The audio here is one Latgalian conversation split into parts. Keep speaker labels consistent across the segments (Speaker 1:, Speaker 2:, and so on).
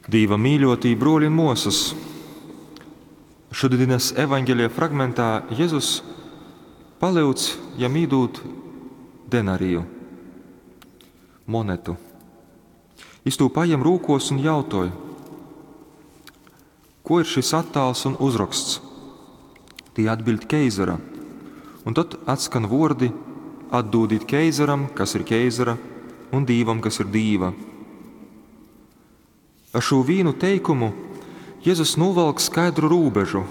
Speaker 1: Dīva mīļotī bruoļi un muosys, šodienas evaņgelija fragmentā Jezus palyudz jam īdūt denariju, monetu. Jis tū pajem rūkos un jautoj, ko ir šis attāls un uzraksts? Tī atbiļd keizara. Un tad atskan vuordi: atdūdit keizaram, kas ir keizara, un Dīvam, kas ir Dīva. Ar šū vīnu teikumu Jezus nūvalk skaidru rūbežu,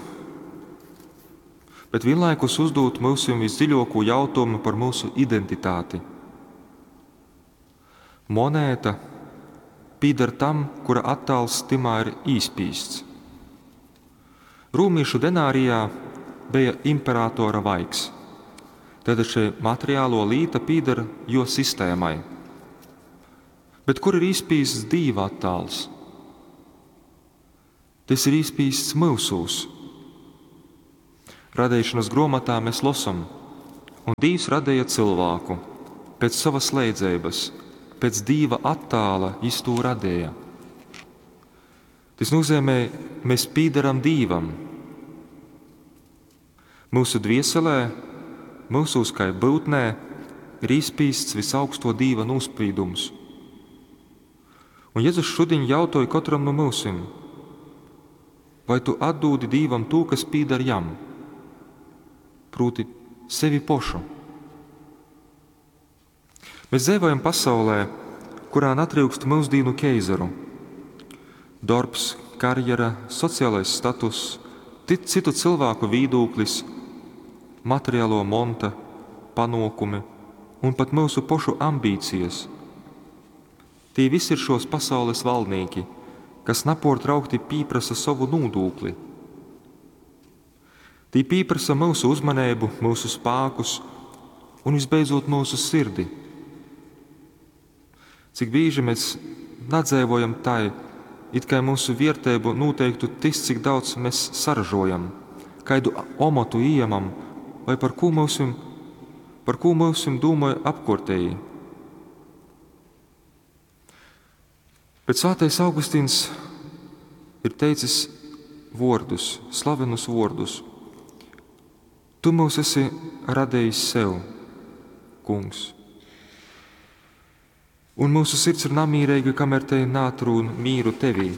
Speaker 1: bet vienlaikus uzdūt myusim visdziļāko jautājumu par mūsu identitāti. Monēta pīdar tam, kura attāls timā ir īspīsts. Rūmīšu denārijā bija imperatora vaigs. Tad šī materiālo līta pīdar jo sistēmai. Bet kur ir īspīsts Dīva attāls? Tas ir īspīsts mūsūs. Radīšanas grāmatā mēs losam, un Dievs radīja cilvēku pēc savas leidzības, pēc Dieva attāla jis to radīja. Tas nozīmē, mēs pīdaram Dīvam. Mūsu dvieselē, mūsūs kā būtnē, ir īspīsts visaugsto Dīva nospīdums. Un Jēzus šodien jautāja katram no mūsim, vai tu atdūdi Dīvam to, kas pīdar jam, proti sevi pošu. Mēs dzīvojam pasaulē, kurā netrūkst mūsdienu keizaru. Darbs, karjera, sociālais status, citu cilvēku vīdūklis, materiālo monta, panokumi un pat mūsu pošu ambīcijas. Tī visi ir šos pasaules valdnieki, kas napārtraukti pieprasa savu nodokli. Tī pieprasa mūsu uzmanību, mūsu spēkus un visbeidzot mūsu sirdi. Cik bieži mēs nadzēvojam tai, it kā mūsu vērtību noteiktu tas, cik daudz mēs saražojam, kādu omotu ieņemam vai par ko mūsim, par ko mūsim domāja apkārtēji. Bet Svētais Augustīns ir teicis vārdus, slavenus vārdus. Tu mūs esi radījis sev, kungs. Un mūsu sirds ir namīrīga, kamēr te nātrūn mīru tevī.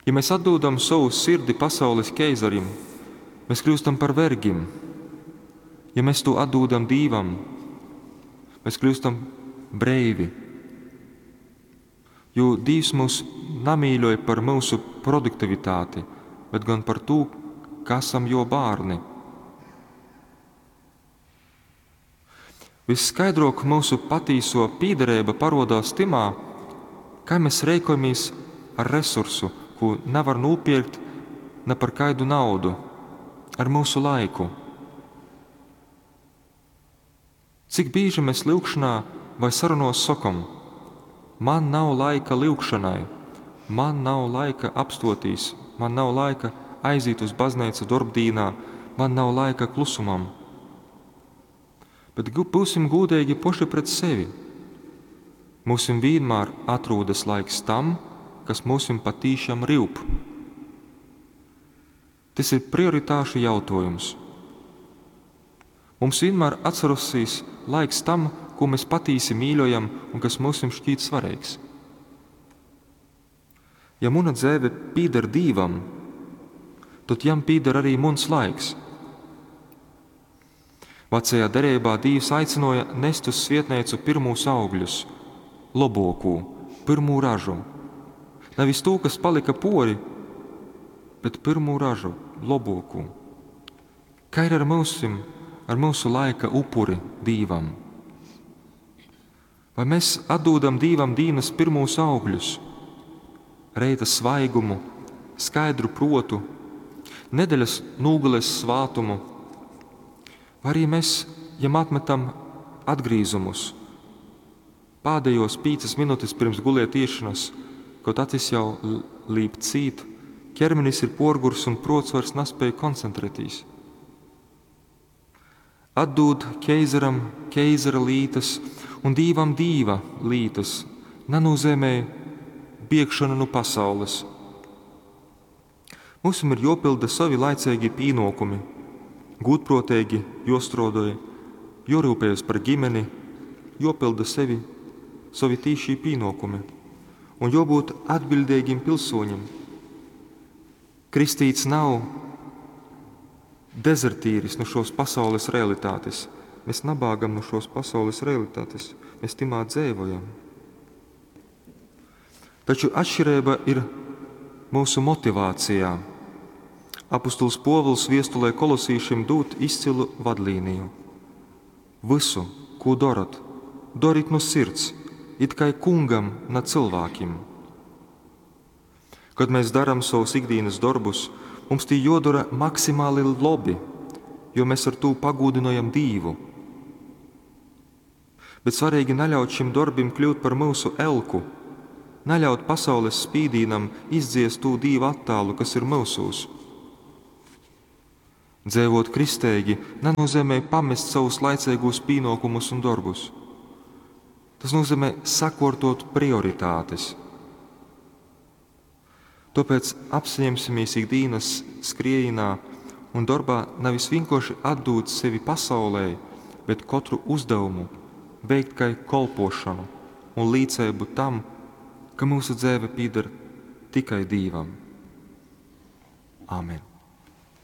Speaker 1: Ja mēs atdodam savu sirdi pasaules keizarim, mēs kļūstam par vergim. Ja mēs to atdodam Dīvam, mēs kļūstam breivi. Jo Dievs mūs namīļoja par mūsu produktivitāti, bet gan par to, ka esam jo bērni. Visskaidrāk mūsu patīso pīderība parodās timā, kā mēs rēkojamies ar resursu, ko nevar nopirkt ne par kaidu naudu, ar mūsu laiku. Cik bieži mēs lūgšanā vai sarunos sakam, man nav laika lūgšanai, man nav laika apstotīs, man nav laika aiziet uz baznīcu darbdīnā, man nav laika klusumam. Bet būsim gudīgi poši pret sevi. Mūsim vienmēr atrodas laiks tam, kas mūsim patīšām rūp. Tas ir prioritāšu jautājums. Mums vienmēr atcerosies laiks tam, ko mēs patīsi mīļojam un kas mums šķiet svarīgs. Ja muna dzēve pīder Dīvam, tad jam pīder arī muns laiks. Vecajā derībā Dievs aicināja nest uz svietnīcu pirmos augļus, lobokū, pirmū ražu. Nevis to, kas palika pori, bet pirmū ražu, lobokū. Kā ir ar mūsim, ar mūsu laika upuri Dīvam? Vai mēs atdodam Dīvam dīnas pirmos augļus, reita svaigumu, skaidru protu, nedēļas nūgales svātumu, vai arī mēs jam atmetam atgrīzumus, pēdējos pīcas minūtes pirms guliet iešanas, kaut acis jau līp cīt, ķermenis ir porgurs un prots vairs nespēja koncentrēties. Atdod keizaram keizara lītas un dīvam dīva lītas, nenozīmē biegšona nu pasaules. Myusim ir juopylda sovi laiceigī pīnuokumi, gūdpruoteigi juostruodoj, juoryupejas par ģimeni, juopylda sevi sovi tīšī pīnuokumi un juobūt atbiļdeigim pilsūņim. Kristīts nav dezertīris nu šos pasaules realitātes. Mēs nabāgam nu šos pasaules realitātes, mēs timā dzeivojam. Taču atšķirība ir mūsu motivācijā. Apustuls Pōvils viestulē kolosīšim dūd izcilu vadlīniju. Vysu, kū dorat, dorit nu sirds, it kai kungam, na cylvākim. Kad mēs daram savus ikdienas darbus, mums tī jodara maksimāli labi, jo mēs ar tū pagūdinojam Dīvu. Bet svarīgi naļaut šim darbim kļūt par mūsu elku, naļaut pasaules spīdīnam izdziest tū Dīva attālu, kas ir mūsūs. Dzēvot kristeigi nenozīmē pamest savus laicīgos pienākumus un darbus. Tas nozīmē sakārtot prioritātes. Tāpēc apsaņemsimies ikdienas skriejienā un darbā nevis vienkārši atdūt sevi pasaulē, bet katru uzdevumu veikt kā kolpošanu un līdzību tam, ka mūsu dzīve pieder tikai Dīvam. Āmen!